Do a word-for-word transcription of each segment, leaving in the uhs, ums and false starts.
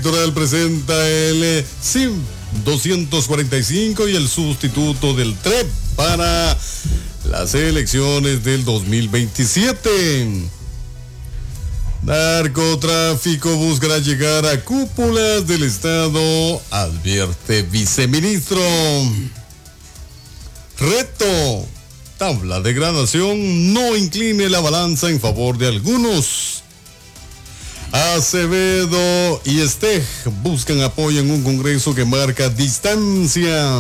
Electoral presenta el C I P doscientos cuarenta y cinco y el sustituto del T R E P para las elecciones del dos mil veintisiete. Narcotráfico buscará llegar a cúpulas del Estado, advierte viceministro. Reto, tabla de gradación no incline la balanza en favor de algunos. Acevedo y Steg buscan apoyo en un congreso que marca distancia.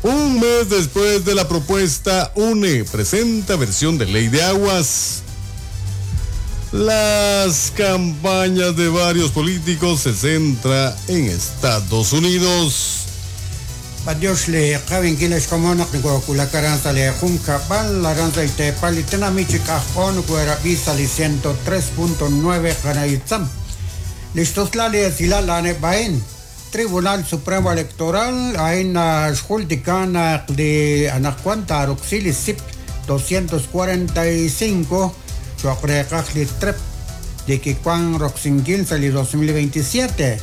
Un mes después de la propuesta, U N E presenta versión de ley de aguas. Las campañas de varios políticos se centra en Estados Unidos. Adiós le qabin kiles komonaq nicuaculakaranza le juncabal la ranza y tepalitena michicajón cuerabisa li ciento tres punto nueve canaitzam. Listoslali esilala bain. Tribunal Supremo Electoral aina xulticana de anacuanta roxili zip doscientos cuarenta y cinco choqreqajli trep de que cuan roxinquil sali dos mil veintisiete.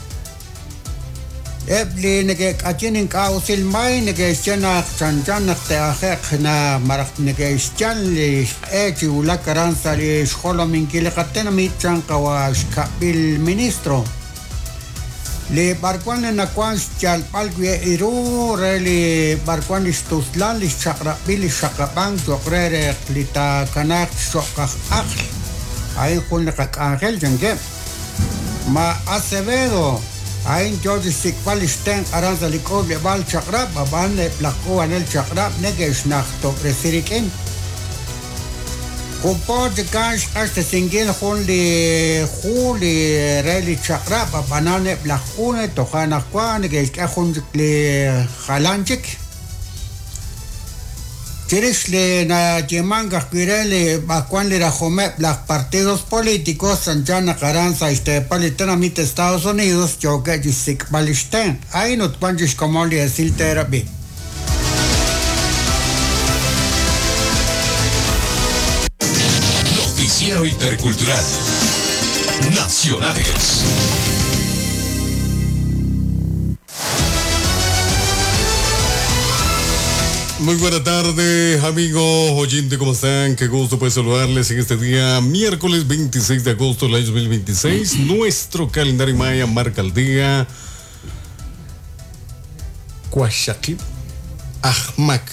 Ebli neke kachinin kausil may neke xana chanchan te ajeq na maraq neke xchan li echi ulakaran sali xolomin kilqatena mi chanqawa xkabil ministro. Le barcuan na cuan chalpalque iru reli barcuan istuslan li chaqrabil xaqaban choqrere lita kanak xoqaj aql. Ahí jun qak'angel chanque. Ma Acevedo Ain George Sikbal Sten Aranza Likob Bal Chakrab Aban Plakuan el Chakrab Negesh Nachto Resirikin Kupo Kash Ashte Singil Juli Juli Reli Chakrab Abanane Plakune Tohana Juan Negesh Ahun Le Halanchik Chirishli na Yemanga Quirele Bacuan Lirajome las partidos políticos Sanchana Caranza este Palitanamite Estados Unidos Yoga Yisik Balisten Ahí no panchis como le decir terapia. Noticiero Intercultural Nacionales. Muy buena tarde, amigos oyentes, ¿cómo están? Qué gusto poder saludarles en este día, miércoles veintiséis de agosto del año dos mil veintiséis. Nuestro calendario maya marca el día Cuaxaquip Ajmac.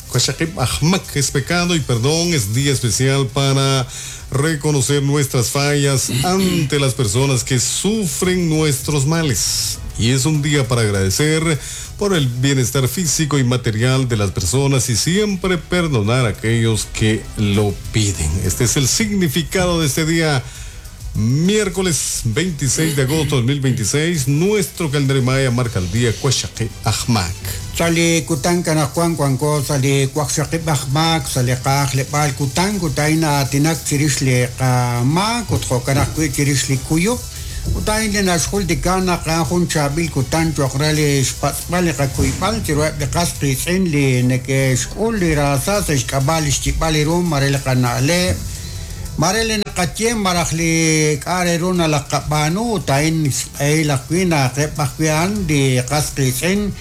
Cuaxaquip Ajmac es pecado y perdón, es día especial para reconocer nuestras fallas ante las personas que sufren nuestros males. Y es un día para agradecer por el bienestar físico y material de las personas y siempre perdonar a aquellos que lo piden. Este es el significado de este día, miércoles veintiséis de agosto de dos mil veintiséis. Nuestro calendario maya marca el día Cuaxaquip Ajmac. Sali kutan kana Juan Juanco, sali Cuaxaquip Ajmac, sali Qajle Bal kutan kutaina tinak chirishli qama kutjo kana chirishli kuyo. Utain le nashul dikana qajun chabil kutan choqrali xpatzpali qakuipal chirueb de qasqis in li neke xkul li rasas xkabal xchibali rum marel qanale marel naqatiem marajli k'areruna la qabanu utain xq'eilaqwina qepajwian di qasqis in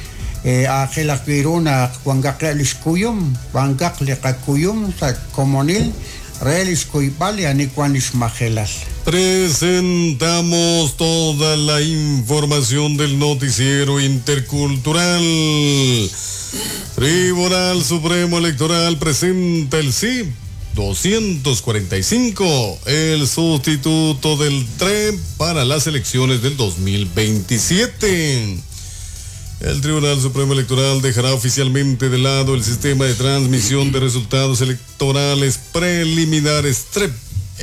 aqilaqwiruna kuangaqli xkuyum kuangaqli qakuyum sa komonil relis kuipal y anicuan majelas. Presentamos toda la información del noticiero intercultural. Tribunal Supremo Electoral presenta el C I P doscientos cuarenta y cinco, el sustituto del T R E P para las elecciones del dos mil veintisiete. El Tribunal Supremo Electoral dejará oficialmente de lado el sistema de transmisión de resultados electorales preliminares T R E P,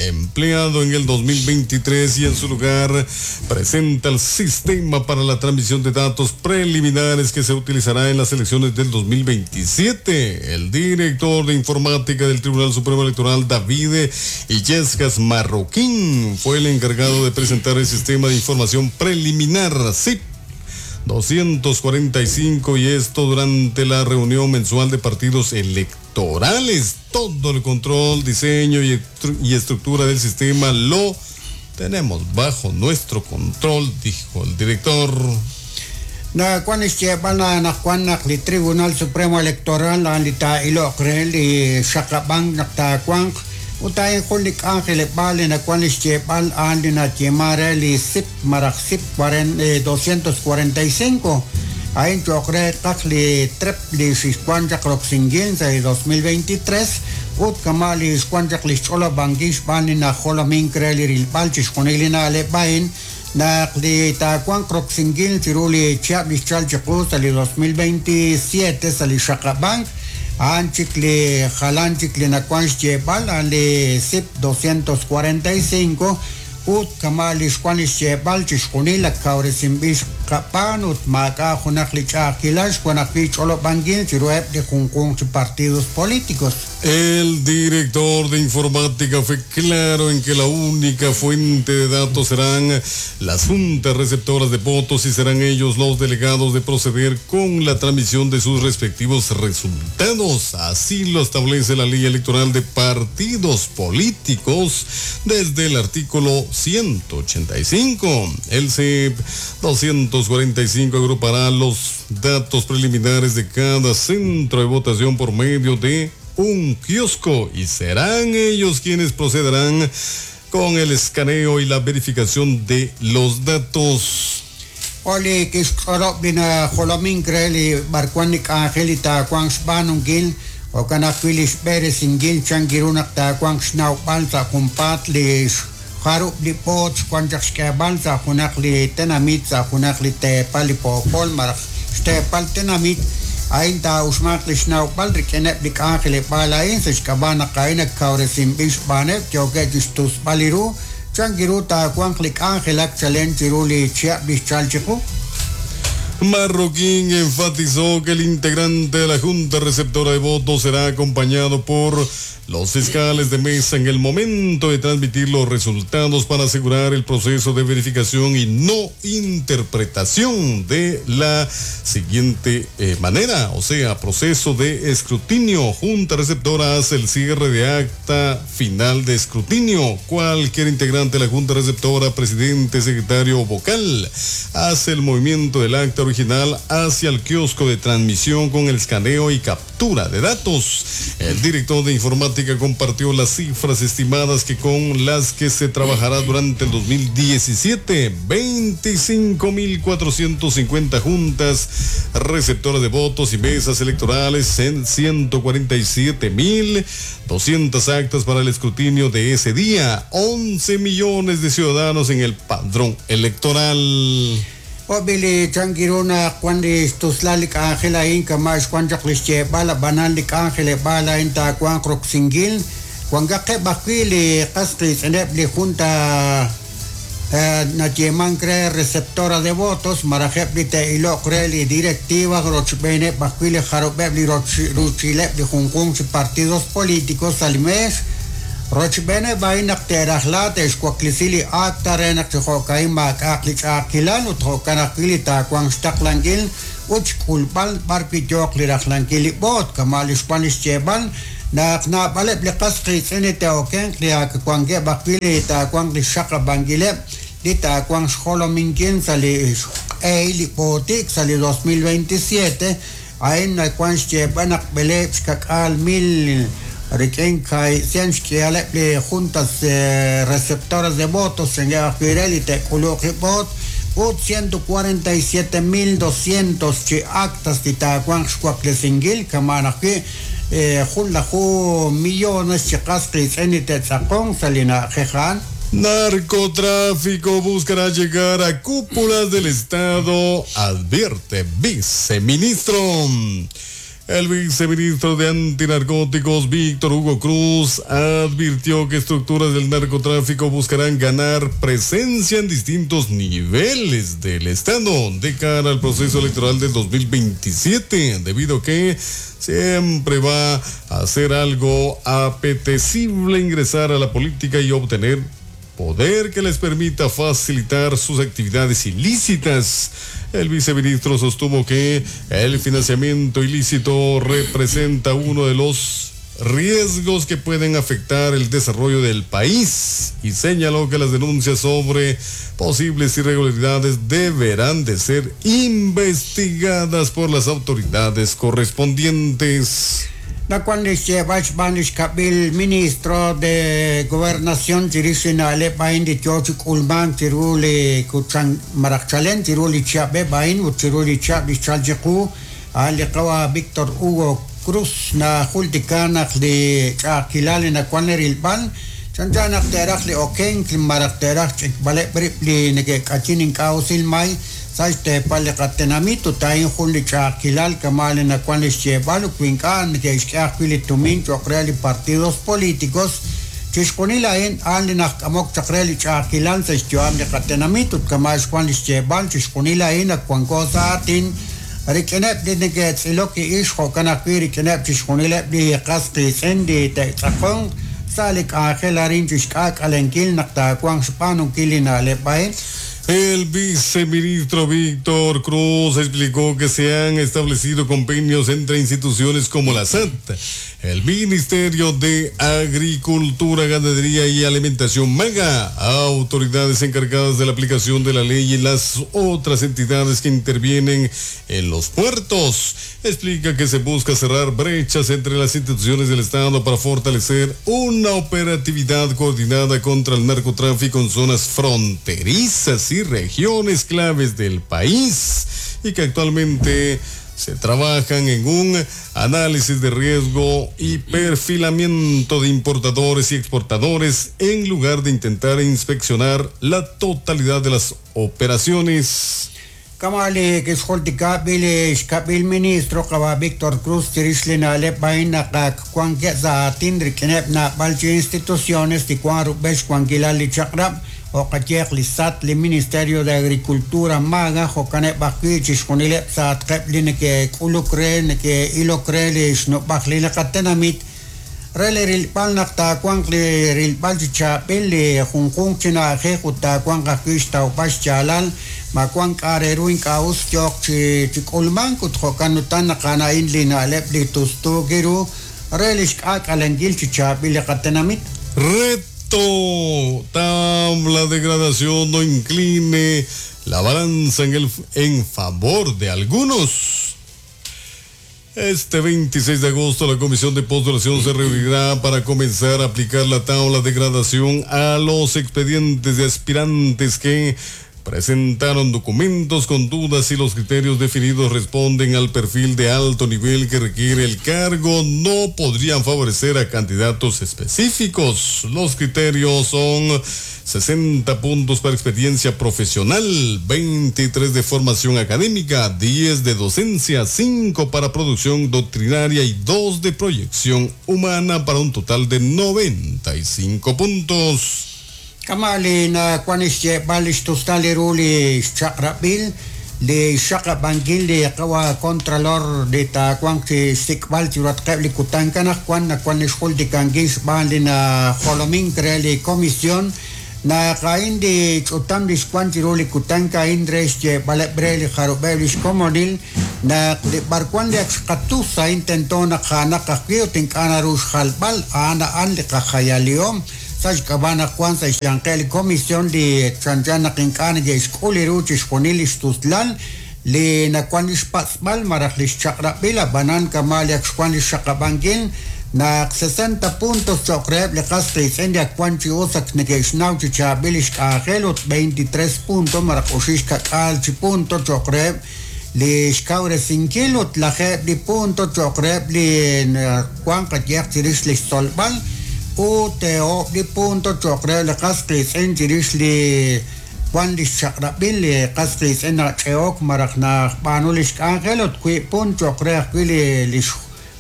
empleado en el dos mil veintitrés, y en su lugar presenta el sistema para la transmisión de datos preliminares que se utilizará en las elecciones del dos mil veintisiete. El director de informática del Tribunal Supremo Electoral, David Illescas Marroquín, fue el encargado de presentar el sistema de información preliminar S I P doscientos cuarenta y cinco, y esto durante la reunión mensual de partidos electorales. Todo el control, diseño y estru-, y estructura del sistema lo tenemos bajo nuestro control, dijo el director. Na kwan xyeeb'al naq wan naq li Tribunal Supremo Electoral a'an li taa'iloq re li xaqab'ank naq taawanq ut a'in jun li k'anjeleb'aal li nawan li xyeeb'al a'an li nayeema re li S I P maraj S I P doscientos cuarenta y cinco a'in cho'q re qaq li trep li xixwan chaq roksinkil sa' dos mil veintitrés ut kama' li xwan chaq li xch'olob'ankil xb'aan li najolomink re li rilb'al chixjunil li na'leb' a'in naq li taawanq roksinkil chiru li chihab' li xchal chiqu sa' li dos mil veintisiete sa' li xaqab'ank a'an chik li jalan chik li nawan xyeeb'al a'an li S I P doscientos cuarenta y cinco ut kama' li xwan li xyeeb'al chixjunil ak kawresinb'il xqab'aan ut maak'a' junaq li ch'a'ajkilal xwan ajwi' ch'olob'ankil chiruheb' li junjunq chi partidos políticos. El director de informática fue claro en que la única fuente de datos serán las juntas receptoras de votos y serán ellos los delegados de proceder con la transmisión de sus respectivos resultados. Así lo establece la ley electoral de partidos políticos desde el artículo ciento ochenta y cinco. El C I P doscientos cuarenta y cinco agrupará los datos preliminares de cada centro de votación por medio de un kiosco y serán ellos quienes procederán con el escaneo y la verificación de los datos. Oli kixk'orob' li najolomink re li b'arwan li k'anjel li taawanq xb'aanunkil jo'kan ajwi' li xb'eresinkil chan kiru naq taawanq xnawb'al sa' junpaat li jarub' li b'oot xwan chaq xk'eeb'al sa' junaq li tenamit sa' junaq li teepal li poopol malaj xteepal tenamit a'in taa'uxmanq li xnawb'al rik'ineb' li k'anjeleb'aal a'in sa' xk'ab'a' naq a'in ak kawresinb'il xb'aaneb' yookeb' chixtusb'al li ru chan kiru taawanq li k'anjelak chalen chiru li chihab' li xchal chiqu. Marroquín enfatizó que el integrante de la Junta Receptora de Votos será acompañado por los fiscales de mesa en el momento de transmitir los resultados para asegurar el proceso de verificación y no interpretación de la siguiente eh, manera, o sea, proceso de escrutinio. Junta Receptora hace el cierre de acta final de escrutinio. Cualquier integrante de la Junta Receptora, presidente, secretario o vocal, hace el movimiento del acta original hacia el kiosco de transmisión con el escaneo y captura de datos. El director de informática compartió las cifras estimadas que con las que se trabajará durante el dos mil diecisiete, veinticinco mil cuatrocientos cincuenta juntas receptoras de votos y mesas electorales en ciento cuarenta y siete mil doscientas actas para el escrutinio de ese día, once millones de ciudadanos en el padrón electoral. Obili chankiruna cuando istuslali k'anjel a'in kama' xwan chaq li xyeeb'al ab'anan li k'anjeleb'aal a'in taawanq roksinkil wankaqeb' ajwi' li qas qiitz'ineb' li junta nayeemank re receptora de votos marajeb' li te'iloq re li directiva rochb'eeneb' ajwi' li jarub'eb' li ruchileb' li junjunq chi partidos políticos sa' li meex rochb'eeneb' a'in naq te'rajla te'xwaklisi li acta re naq chi jo'ka'in maak'a'aq li ch'a'ajkilal ut jo'kan ajwi' li taawanq xtaqlankil ut xk'ulb'al b'arwi' yooq li rajlankil li b'oot kama' li xwan li xyeeb'al naq naab'aleb' li qas qiitz'in li te'okenq li ak wankeb' ajwi' li taawanq li xxaqab'ankileb' li taawanq xjolominkil sa' li xq'ehil li b'ootik sa' li dos mil veintisiete a'in nawan xyeeb'al naq b'eleeb' xkak'aal mil rik'in cien xk'ihaleb' li juntas receptoras de votos en ajwi' re li te'k'uluq li b'oot ut ciento cuarenta y siete mil doscientos chi actas li taawanq xwaklesinkil kama' ajwi' jun laju millones chi qas qiitz'in li te'tz'aqonq sa' li na'ajej a'an. Narcotráfico buscará llegar a cúpulas del Estado, advierte viceministro. El viceministro de Antinarcóticos, Víctor Hugo Cruz, advirtió que estructuras del narcotráfico buscarán ganar presencia en distintos niveles del Estado de cara al proceso electoral del dos mil veintisiete, debido a que siempre va a ser algo apetecible ingresar a la política y obtener poder que les permita facilitar sus actividades ilícitas. El viceministro sostuvo que el financiamiento ilícito representa uno de los riesgos que pueden afectar el desarrollo del país y señaló que las denuncias sobre posibles irregularidades deberán de ser investigadas por las autoridades correspondientes. Nacuan ministro de Gobernación chirixina le bain de chochi ulman chiruli kuchan marachalen chiruli chabe bain uchiruli chabi chaljiku al qawa Víctor Hugo Cruz na jultikana li ch'aqilal nacuan rilbal chanchana teraj li oken marachteraj ch'ikbale li nekek'achin ink'awsil may Saiste palikatenamito tain juli chakilal kamal en la cual llevalo cuincan que tumin chokreli partidos políticos chisconila en alin amok chakreli chakilal se joam de katenamito kamal cual lleval chisconila en a cuan cosa tin rikenep de que tsiloki isho kanakiri kenep chisconila de qasqis endi te tsakon salik ángel arin chiskak alenkil nakta cuan spanu kilina lepae. El viceministro Víctor Cruz explicó que se han establecido convenios entre instituciones como la S A T, el Ministerio de Agricultura, Ganadería y Alimentación MAGA, autoridades encargadas de la aplicación de la ley y las otras entidades que intervienen en los puertos. Explica que se busca cerrar brechas entre las instituciones del Estado para fortalecer una operatividad coordinada contra el narcotráfico en zonas fronterizas y regiones claves del país y que actualmente se trabajan en un análisis de riesgo y perfilamiento de importadores y exportadores en lugar de intentar inspeccionar la totalidad de las operaciones. Kamali que xoltikabil xkabil ministro qaba Víctor Cruz tirishlina le baina qak cuan za tindri kenepna balchi instituciones ti cuan rubesh cuan kilali chaqrab o qatiq li S A T li Ministerio de Agricultura MAGA jokaneb baqui xconile sat qeblin ke kulukre ke ilokre li xnubaqli qatenamit rele rilbal naqta cuan li rilbal chapil li junjun china je juta cuan qaqui tawpash chalal makuan kareruin kaus yok chi chikulman kutjokanutan qanain linalep li tustugiru relish k'ak'alangil chichapil qatenamit. Reto, tabla de gradación no incline la balanza en el en favor de algunos. Este veintiséis de agosto la Comisión de Postulación se reunirá para comenzar a aplicar la tabla de gradación a los expedientes de aspirantes que presentaron documentos con dudas y los criterios definidos responden al perfil de alto nivel que requiere el cargo. No podrían favorecer a candidatos específicos. Los criterios son sesenta puntos para experiencia profesional, veintitrés de formación académica, diez de docencia, cinco para producción doctrinaria y dos de proyección humana para un total de noventa y cinco puntos. Kamali na kuanis balish tustali ruli chaqrabil li shaqabangil li qawa contralor de ta kuan chi sikbal churat qebli kutankana kuan na kuanis xul di kangis ban li na jolomin kreli comisión na qain di chutam di kuan chiruli kutanka indres che balebreli jarubelis komonil na li barkuan li xqatusa intentó na khana qaqio tinkana rush khalbal ana an li qakhayaliom Cabana Juan Sayankel Comisión de Chanchana Quincana de Esculiru Chisconilis Tuzlal le Nacuanis Pazmal Marajlis Chakrapila Banan Kamalia Juanis Chacabangin na sesenta puntos Chocreb le Castris India Cuanchi Osak Negeshnau Chichabilish Cajelot veintitrés puntos Maracushishka Calchi punto Chocreb le Xcaure Sinquilot la Jebli punto Chocreb le Juan Catiach le Solbal U T O li punto chocre le qasqis en chirish li Juan li chaqrabil li qasqis en cheok maraqna panulish angelot qui punto chocre qui li li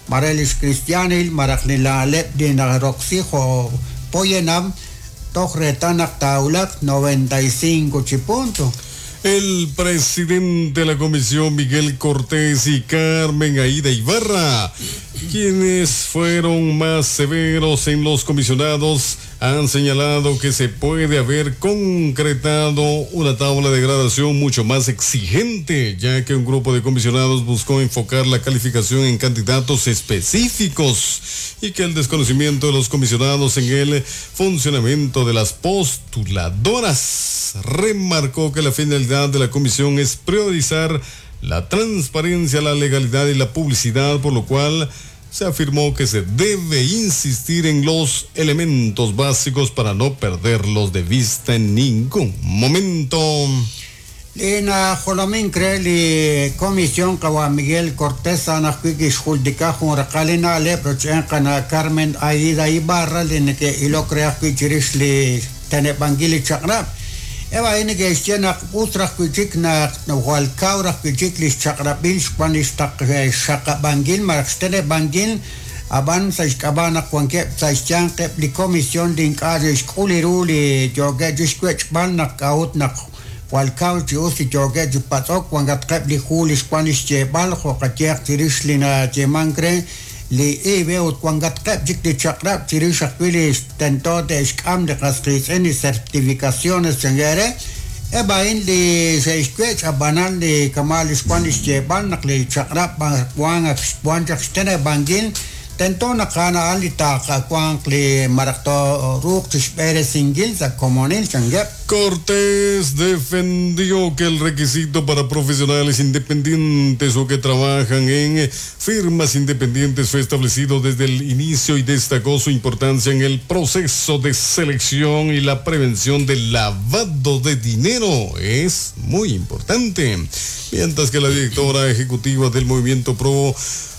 marelis cristianil maraqni la lep di na roxijo poyenam tohretanaq taulat noventa y cinco chi punto. El presidente de la comisión, Miguel Cortés, y Carmen Aida Ibarra, quienes fueron más severos en los comisionados, han señalado que se puede haber concretado una tabla de gradación mucho más exigente, ya que un grupo de comisionados buscó enfocar la calificación en candidatos específicos y que el desconocimiento de los comisionados en el funcionamiento de las postuladoras. Remarcó que la finalidad de la comisión es priorizar la transparencia, la legalidad y la publicidad, por lo cual se afirmó que se debe insistir en los elementos básicos para no perderlos de vista en ningún momento. Lina jolomin cree li comisión qawa Miguel Cortés anajwi kixjuldika jun raqal li na'leb roch'en qana Carmen Aida Ibarra li neke'ilok re ajwi' chirix li teneb'ankil li chaq'rab'. Eb' a'in neke'xye naq us raj wi' chik naq jwal kaw raj wi' chik li xchaq'rab'il xwan li xtaq xxaqab'ankil malaj xteneb'ankil, ab'an sa' xk'ab'a' naq wankeb' sa' xyanqeb' li comisión li ink'a' xe'xk'ul ru li yookeb' chixwech'b'al naq k'a'ut naq jwal kaw chi us li yookeb' chi patz'ok wankatqeb' li hu li xwan li xyeeb'al jo' qayeeq chirix li nayeemank re li I V E ut wankatqeb' chik li chaq'rab' chirix ajwi' li tento te'xk'am li qas qiitz'in li certificaciones chankere. Eb' a'in li xe'xwech', ab'anan li kama' li xwan li xyeeb'al naq li chaq'rab' wan ak xwan chaq xteneb'ankil tento naq a'an a'an li taaqawanq li malaj tooruuq chixb'eresinkil sa' komonil chankeb'. Cortés defendió que el requisito para profesionales independientes o que trabajan en firmas independientes fue establecido desde el inicio y destacó su importancia en el proceso de selección y la prevención del lavado de dinero. Es muy importante. Mientras que la directora ejecutiva del Movimiento Pro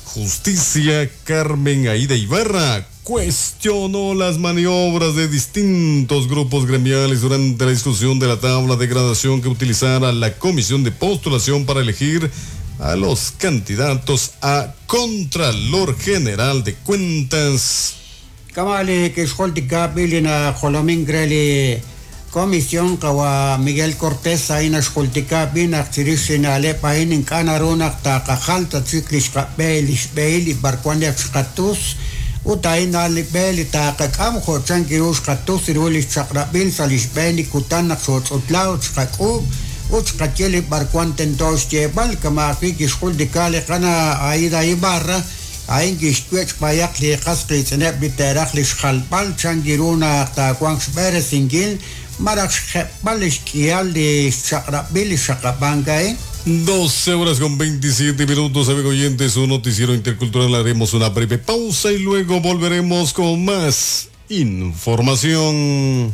Justicia, Carmen Aida Ibarra, cuestionó las maniobras de distintos grupos gremiales durante la discusión de la tabla de gradación que utilizara la comisión de postulación para elegir a los candidatos a Contralor General de Cuentas. Kama' li kixjultika b'i li najolomink re li comisión qawa Miguel Cortés a'in naxjultika b'i naq chirix li na'leb' a'in ink'a' naru naq taqajal ta chik li xqab'e li xb'ehil li b'arwan li ak xqatus ut a'in a'an li b'e li taqak'am jo' chan kiru xqatus ru li xchaq'rab'il sa' li xb'een li kutan naq xooch'utla ut xqak'uub' ut xqaye li b'arwan tento xyeeb'al. Kama' ajwi' kixjultika li qana Aida Ibarra a'in kixwech' b'ayaq li qas qiitz'ineb' li te'raj li xjalb'al chan kiru naq taawanq xb'eresinkil malaj xjeb'al li xk'ihal li xchaq'rab'il li xaqab'ank a'in. doce horas con veintisiete minutos, amigo oyentes, un noticiero intercultural. Haremos una breve pausa y luego volveremos con más información.